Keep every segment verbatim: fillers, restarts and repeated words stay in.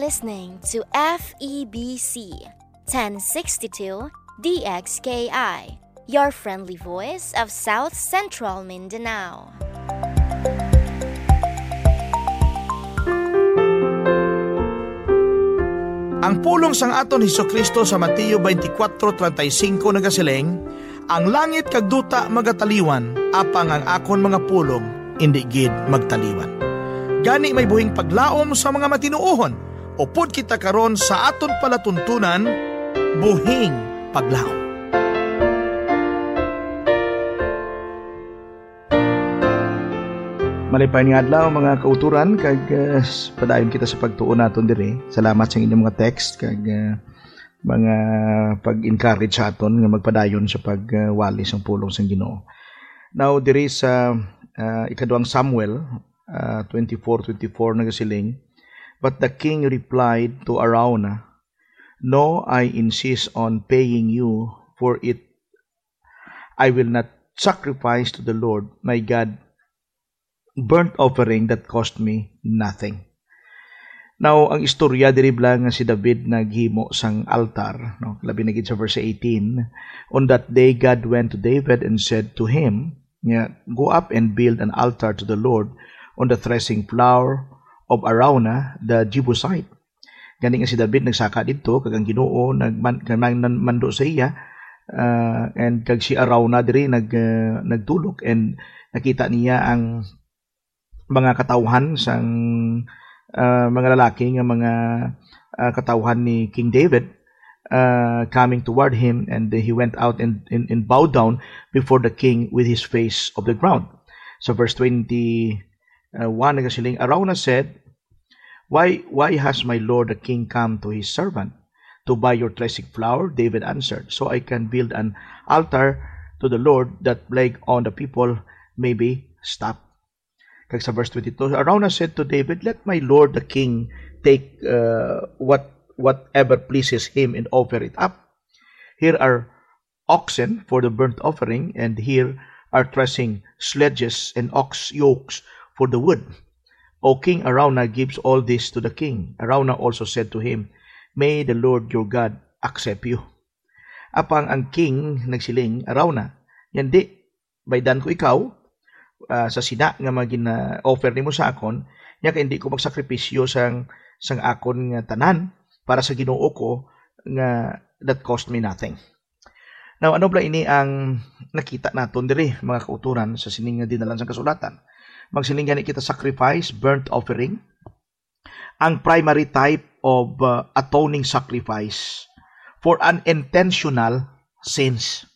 Listening to F E B C ten sixty-two D X K I, your friendly voice of South Central Mindanao. Ang pulong sang aton Jesu-Cristo sa Mateo twenty-four thirty-five nagasiling, "Ang langit kag duta magataliwan, apang ang akon mga pulong indi gid magtaliwan." Gani may buhing paglaom sa mga matinuohon, upod kita karon sa aton palatuntunan, buhing paglaom. Malipay nga adlaw, mga kauturan, kag, uh, padayon kita sa pagtuon naton diri. Salamat sa inyong mga text kag, uh, mga pag-encourage sa aton nga magpadayon sa pagwali sang pulong sang Ginoo. Now, diri sa, uh, ikaduhang Samuel, uh, twenty-four twenty-four nagasiling, "But the king replied to Araunah, 'No, I insist on paying you for it. I will not sacrifice to the Lord my God burnt offering that cost me nothing.'" Now, ang istorya diri bala nga si David naghimo sang altar, no? Labi na gid sa verse eighteen, "On that day God went to David and said to him, nga, 'Go up and build an altar to the Lord on the threshing floor of Araunah the Jebusite.'" Gani nga si David nagsaka didto, kag ang Ginoo nagman-, nagman-, mando sa iya, ah, and kag si Araunah diri nag-, ah, nagtulok, and nakita niya ang mga katawhan sang, ah, mga lalaki nga mga, ah, katawhan ni King David, ah, coming toward him, and he went out and, and, and bowed down before the king with his face of the ground. So verse twenty, uh, one nagasiling, Araunah said, "Why, why has my lord the king come to his servant to buy your threshing flour?" David answered, "So I can build an altar to the Lord, that plague on the people may be stopped." Kag sa verse twenty-two, Araunah said to David, "Let my lord the king take, uh, what, whatever pleases him and offer it up. Here are oxen for the burnt offering, and here are threshing sledges and ox yokes for the wood." O king, Araunah gives all this to the king. Araunah also said to him, "May the Lord your God accept you." Apang ang king nagsiling, "Araunah, yandi, baydan ko ikaw, ah, sa sina nga mga gina-offer nimo sa akon, nya kay hindi ko magsakripisyo sang, sang akon nga tanan para sa Ginoo ko nga that cost me nothing." Now, ano bala ini ang nakita naton diri, mga kauturan, sa sining nga dinalan sang kasulatan? Magsiling gani kita, sacrifice, burnt offering, ang primary type of, uh, atoning sacrifice for an intentional sins.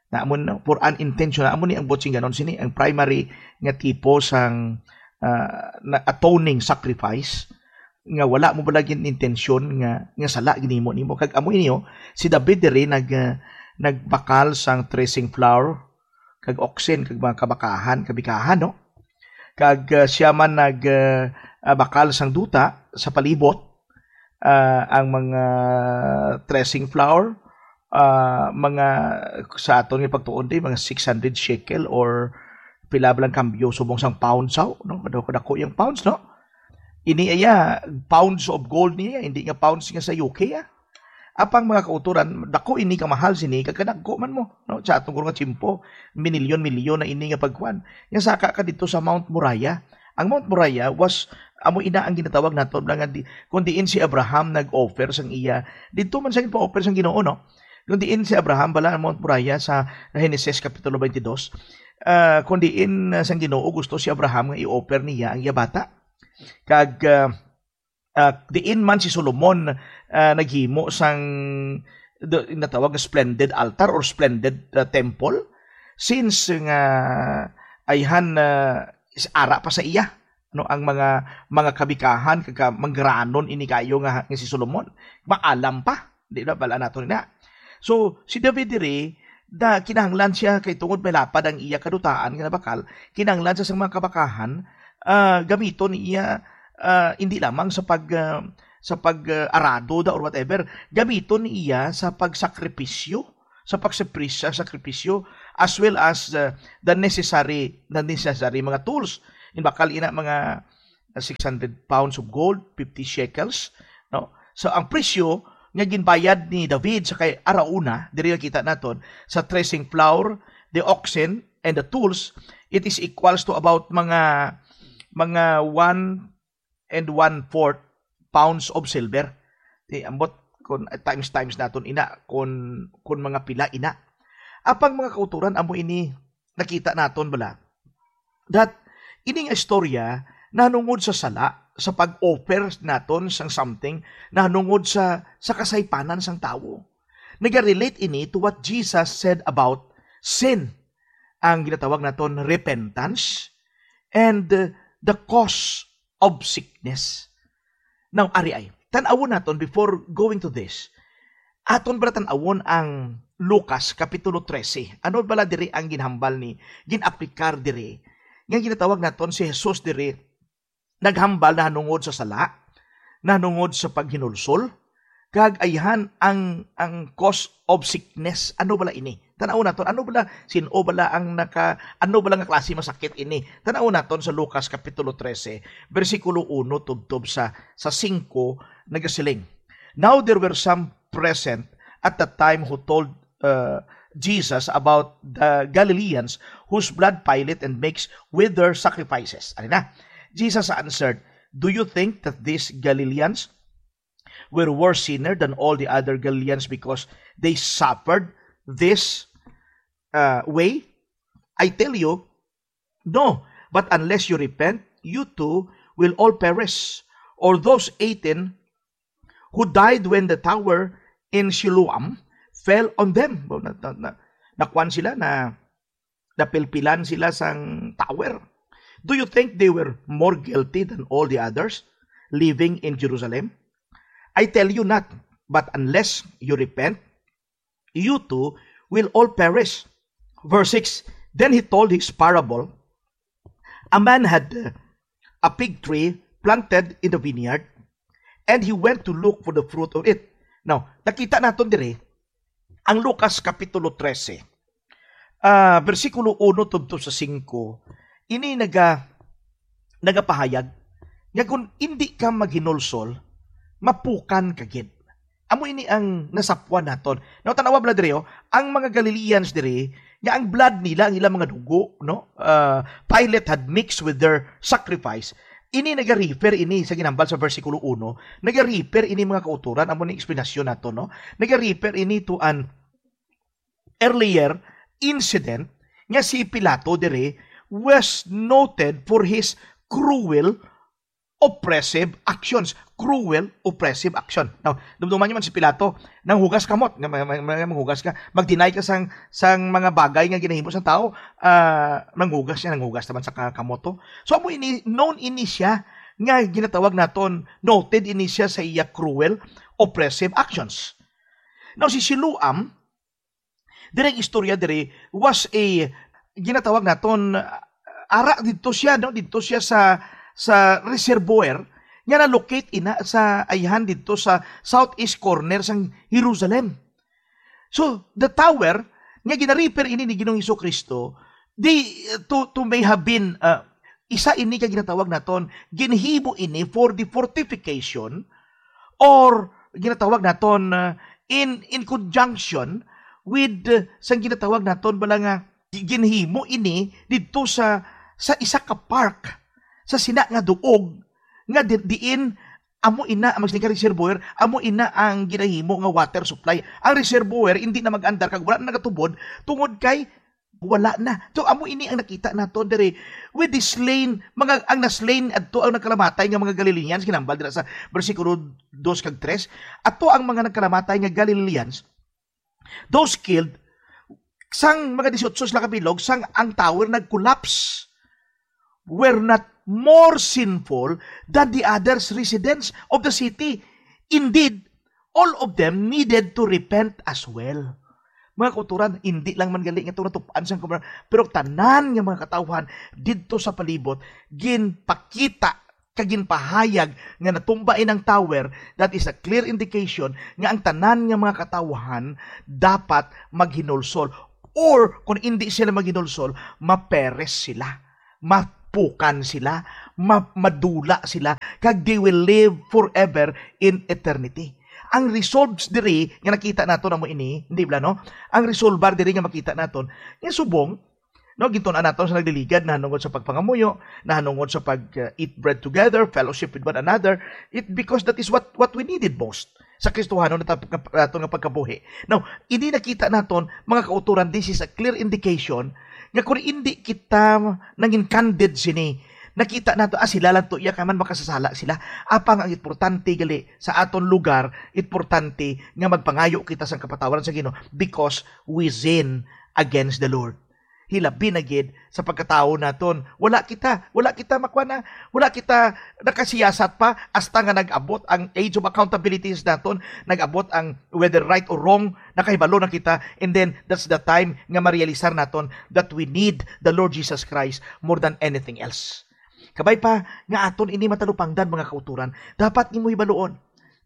Na amo, no? For an intentional, amo ni ang buot sing ganon sini, ang primary nga tipo sang, uh, na atoning sacrifice nga wala mo bala gid intensyon nga, nga sala ginimo nimo. Kag amo ini, oh, si David diri nag, uh, nagbakal sang threshing floor kag oxen kag mga kabakahan, kabikahan, no? Kag, uh, sia man nag, uh, uh, bakal sang duta sa palibot, uh, ang mga threshing floor, uh, mga, sa aton nga pagtuon di, mga six hundred shekel or pila ba lang kambyo subong sang pounds, aw, no? Kadako, kadako yang pounds, no? Ini iya, pounds of gold niya, hindi nga pounds nga sa U K, ah. Apang mga kauturan, dako ini, kamahal sini, kag kadagko man mo, no? Sa atong nga tiyempo, minilyon-milyon na ini nga pagkuan. Nga saka ka dito sa Mount Moriah. Ang Mount Moriah was, amo ina ang ginatawag nato nga di, kung diin si Abraham nag-offer sang iya, dito man sa pa-offer sang Ginoo, no? Kung diin si Abraham bala ang Mount Moriah sa Genesis Kapitulo twenty-two, ah, kung diin, ah, sang Ginoo gusto si Abraham nga i-offer niya ang iya bata. Kag, ah, ah, diin man si Solomon, ah, naghimo sang, do, natawag nga splendid altar or splendid, ah, temple, since nga ayhan, ah, is ara pa sa iya, no, ang mga, mga kabikahan kag ka-, mangranon ini kayo nga, nga si Solomon. Maalam pa, di ba? Bala nato na. So, si David diri, da, kinahanglan siya kay tungod may lapad ang iya kadutaan nga nabakal, kinahanglan siya sa mga kabakahan, ah, gamiton niya, ah, hindi lamang sa pag, ah, sa pag, ah, arado da or whatever, gamiton niya sa pagsakripisyo, sa pagsakripisyo, sakripisyo, as well as, ah, the necessary, the necessary mga tools. In bakal ina mga, ah, six hundred pounds of gold, fifty shekels, No? So, ang presyo nga ginbayad ni David sa kay Arauna, diri nakita naton, sa threshing floor, the oxen, and the tools, it is equals to about mga, mga one and one-fourth pounds of silver. Di, ambot kung times, times naton ina, kung, kung mga pila ina. Apang mga kauturan, amo ini nakita naton bala that ini nga istorya nanungod sa sala, sa pag-offer naton sang something, nanungod sa, sa kasaypanan sang tawo. Naga-relate ini to what Jesus said about sin, ang ginatawag naton repentance, and, uh, the cause of sickness. Now, ari ay, tan-awon naton before going to this. Aton bala tan-awon ang Lucas Kapitulo trese. Ano bala diri ang ginhambal ni, gin-aplikar diri? Nga ginatawag naton si Jesus diri, naghambal nahanungod sa sala, nahanungod sa paghinulsol, kag ayhan ang, ang cause of sickness. Ano bala ini? Tan-aw naton, ano bala, sin-o bala ang naka, ano bala nga klase masakit ini? Tan-aw naton sa Lucas Kapitulo trese, bersikulo uno tubtob sa, sa singko, nagasiling, "Now there were some present at the time who told, uh, Jesus about the Galileans whose blood Pilate and makes with their sacrifices." Ano na? Jesus answered, "Do you think that these Galileans were worse sinner than all the other Galileans because they suffered this, uh, way? I tell you, no. But unless you repent, you too will all perish. Or those eighteen who died when the tower in Siloam fell on them." Na, na, na, nakuan sila, na napilpilan sila sang tower. Do you think they were more guilty than all the others living in Jerusalem? I tell you not, but unless you repent, you too will all perish. Verse six, then he told his parable. A man had, uh, a fig tree planted in the vineyard, and he went to look for the fruit of it. Now, nakita naton diri ang Lucas Kapitulo trese, ah, bersikulo uno tubtob sa singko, ini naga-, nagapahayag nga kung indi ka maghinulsol, mapukan ka gid. Amo ini ang nasapwan naton. Now, tan-awa bala diri, oh, ang mga Galileans diri, nga ang blood nila, ang ilang mga dugo, no? Ah, Pilate had mixed with their sacrifice. Ini nagarefer ini sa ginhambal sa bersikulo uno, nagarefer ini, mga kautoran, amo ni eksplanasyon nato, no? Nagarefer ini to an earlier incident nga si Pilato diri was noted for his cruel, oppressive actions. Cruel, oppressive action. Now, dumduman niyo man si Pilato, nanghugas kamot, nga may, may, may, manghugas ka, mag-deny ka sang, sang mga bagay nga ginahimo sang tao, ah, nanghugas siya, nanghugas naman sa ka-, kamot to. So, amo ini, known ini siya, nga ginatawag naton, noted ini siya sa iya cruel, oppressive actions. Now, si Siloam, diri ang istorya diri was a, ginatawag naton, uh, ara didto siya, no? Didto siya sa, sa reservoir nga na-locate ina sa ayhan didto sa southeast corner sang Jerusalem. So, the tower nga ginarefer ini ni Ginoong Hesus-Kristo, di, to, to may have been, uh, isa ini ka ginatawag naton, ginhimo ini for the fortification or ginatawag naton, uh, in, in conjunction with, uh, sang ginatawag naton bala nga gi-, ginhimo ini didto sa, sa isa ka park, sa sina nga duog nga di-, diin amo ina ang magsiling ka reservoir, amo ina ang ginahimo nga water supply. Ang reservoir hindi na mag-andar kag wala na nagatubod tungod kay wala na. So, amo ini ang nakita nato diri with the slain, mga, ang na-slain adto ang nagkalamatay nga mga Galileans, ginhambal dira sa bersikulo dos kag tres. Ato ang mga nagkalamatay nga Galileans, those killed, sang mga dieciocho sila kabilog, sang ang tower nag-collapse, were not more sinful than the others residents of the city. Indeed, all of them needed to repent as well. Mga kauturan, hindi lang man gali nga ito natupaan sang gobernador, pero tanan nga mga katawhan didto sa palibot, ginpakita kag ginpahayag nga natumba in ang tower, that is a clear indication nga ang tanan nga mga katawhan dapat maghinulsol. Or, kung hindi sila maghinulsol, maperes sila, mapukan sila, ma-, madula sila, kag they will live forever in eternity. Ang resolves diri nga nakita naton amo ini, hindi bala, no? Ang resolbar diri nga makita naton, nga subong, no, gintun-an naton sa nagliligad, nahanungod sa pagpangamuyo, nahanungod sa pag, uh, eat bread together, fellowship with one another, it, because that is what, what we needed most sa Kristohanon nato nga, nato nga pagkabuhi. Now, ini nakita naton, mga kauturan, this is a clear indication nga kung hindi kita nangin candid sini, nakita nato, ah, sila lang to, iya ka man makasasala sila. Apang ang importante gali sa aton lugar, importante nga magpangayo kita sang kapatawaran sa Ginoo because we sin against the Lord. Hilabi na gid sa pagkatawo naton. Wala kita, wala kita makuha na, wala kita nakasiyasat pa hasta nga nag-abot ang age of accountability sa naton, nag-abot ang whether right or wrong, nakahibalo na kita, and then that's the time nga marealisar naton that we need the Lord Jesus Christ more than anything else. Kabay pa nga aton ini matalupangdan, mga kauturan, dapat nimo hibaluon,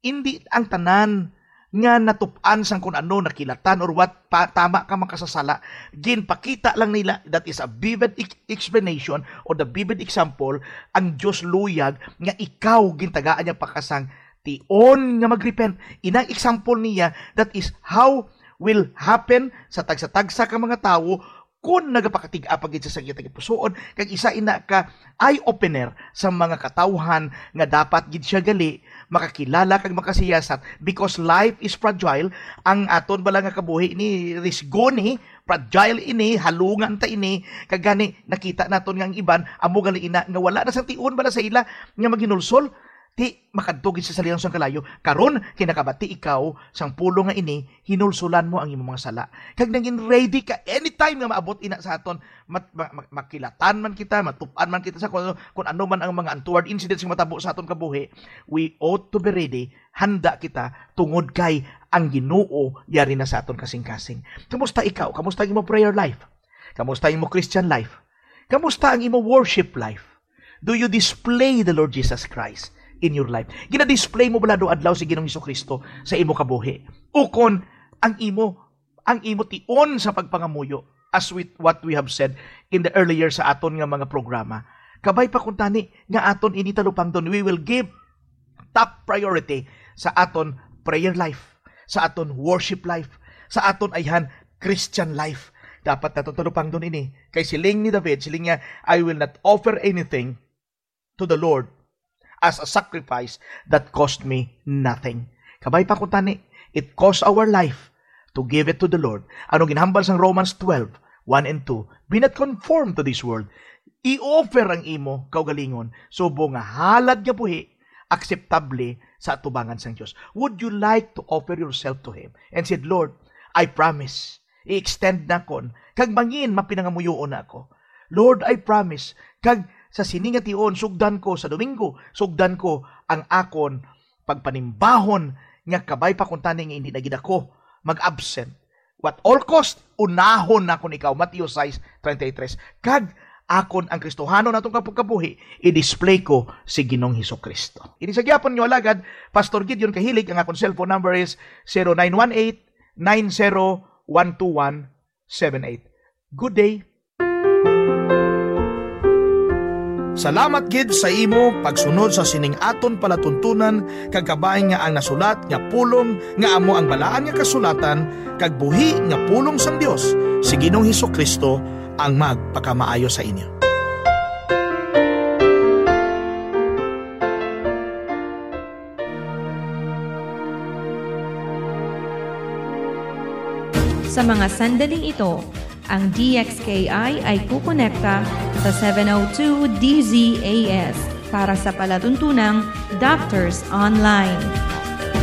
indi ang tanan nga natup-an sang kun ano, nakilatan or what, pa, tama ka makasasala. Ginpakita lang nila, that is a vivid ex-, explanation or the vivid example, ang Dios luyag nga ikaw gintagaan niya pakasang tion nga mag-repent. Inang example niya, that is how will happen sa tagsa-tagsa ka mga tawo kon nagapakatig-a pa gid sa sakit nga pusoon, kag isa ina ka eye-opener sa mga katawhan nga dapat gid siya gali makakilala kag makasiyasat, because life is fragile. Ang aton bala nga kabuhi ni risgo ni, fragile ini, halungan ta ini, kag gani nakita naton nga ang iban amo gali ina nga wala na sang tion bala sa ila nga maghinulsol. Ti makadto gid sa salinan sang kalayo. Karon, kinakabati ikaw sang pulong nga ini, hinulsulan mo ang imong mga sala. Kag nangin ready ka anytime nga maabot ina sa aton. Mat-, ma-, ma-, makilatan man kita, matupan man kita sa kung, kung ano man ang mga untoward incidents nga matabo sa aton kabuhi, we ought to be ready. Handa kita tungod kay ang Ginoo yari na sa aton kasing-kasing. Kamusta ikaw? Kamusta ang imo prayer life? Kamusta ang imo Christian life? Kamusta ang imo worship life? Do you display the Lord Jesus Christ in your life? Gina-display mo bala do adlaw si Ginoong Jesu-Cristo sa imo kabuhi? Ukon ang imo, ang imo tion sa pagpangamuyo, as with what we have said in the earlier sa aton nga mga programa. Kabay pa kuntani nga aton ini talupangdon, we will give top priority sa aton prayer life, sa aton worship life, sa aton ayhan Christian life. Dapat naton talupangdon ini. Kay siling ni David, siling niya, "I will not offer anything to the Lord as a sacrifice that cost me nothing." Kabay pa kuntani, it cost our life to give it to the Lord. Ano ginhambal sang Romans twelve, one and two? "Be not conformed to this world." I-offer ang imo kaugalingon, subong nga halad nga buhi, akseptable sa atubangan sang Dios. Would you like to offer yourself to Him and said, "Lord, I promise, i-extend nakon, kag mangin mapinangamuyoon na ako. Lord, I promise, kag sa sini nga tion, sugdan ko sa Domingo, sugdan ko ang akon pagpanimbahon nga kabay pa kuntani nga hindi na gid ako mag-absent. What all cost, unahon nakon ikaw," Mateo sais treinta y tres. Kag akon ang Kristohanon natong kapagkabuhi, i-display ko si Ginoong Jesu-Cristo. Ini sa gyapon nyo alagad, Pastor Gideon Kahilig. Ang akon cellphone number is zero nine one eight, nine zero one two one seven eight. Good day. Salamat gid sa imo pagsunod sa sining aton palatuntunan, kag kabay nga ang nasulat nga pulong nga amo ang Balaan nga Kasulatan kag buhi nga pulong sang Dios, si Ginoong Jesu-Cristo ang magpakamaayo sa inyo. Sa mga sandaling ito, ang D X K I ay kukonekta sa seven oh two D Z A S para sa palatuntunang Doctors Online.